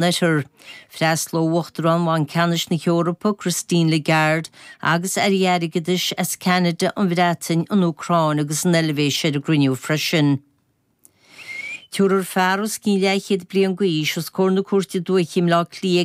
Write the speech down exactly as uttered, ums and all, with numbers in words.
Oirthear. Freastalóidh Uachtarán Bhanc Ceannais na hEorpa Christine Lagarde agus airí airgeadais as Ceanada an Bhreatain an Úcráin agus an Eilvéis ar an gcruinniú freisin. Tabharfar fear os cionn leathchéad bliain d'aois os comhair na cúirte dúiche i mBleá Cliath